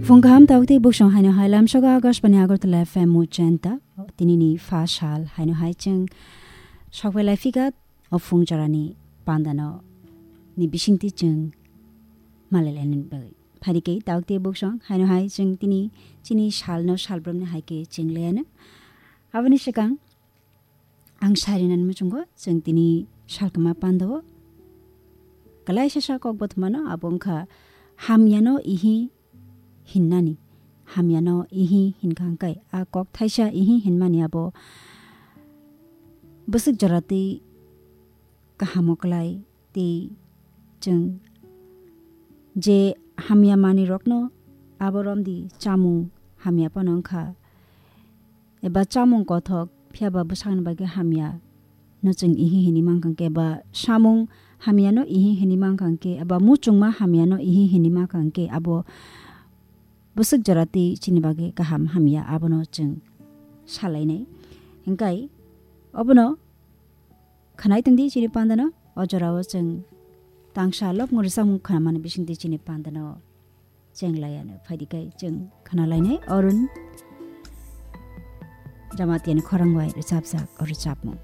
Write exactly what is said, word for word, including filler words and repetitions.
Phung kaham tabuk tei buksong haino hai lamsogo Akashbani Agartala F M Mujenta. Tini ni pha sal haino hai chwng sokphai lai phika o phung jorani pandano ni bisingtwi chwng malai lainani bagwi. Phaidi khe tabuk tei buksong haino hai chwng tini chini salno salbrumni hai khe chwng laiano. Aboni swkang ang sarinani muchungo chwng tini salkama pandao. Kalaisa sa kok bothomano abo wngkha hamyano ihi hinnani. Hamyano ihi hinkha hwnkhe a kok thaisa ihi hinmani abo bwswk jora twi kahamo klai tei chwng je hamya manwi rokno abo romdi chamung hamya phano wngkha. Eba chamung kothok, phiyaba bwsakni bagwi hamya no chwng ihi hinwi mankha hwnkhe, eba samung hamya no ihi hinwi mankha hwnkhe, eba muchungma hamya no ihi hinwi mankha hwnkhe, abo bwswk jora twi chini bagwi kaham hamya abono chwng salainai. Hwnkhe obono khwnai tongdi chini pandano, o jorao chwng tangsa lobmung rwchapmung khwnamani bisingtwi chini pandano cheng laiano phaidi kai chwng khwnalainai Arun Jamatiani khorang bai rwchapjak o rwchapmung.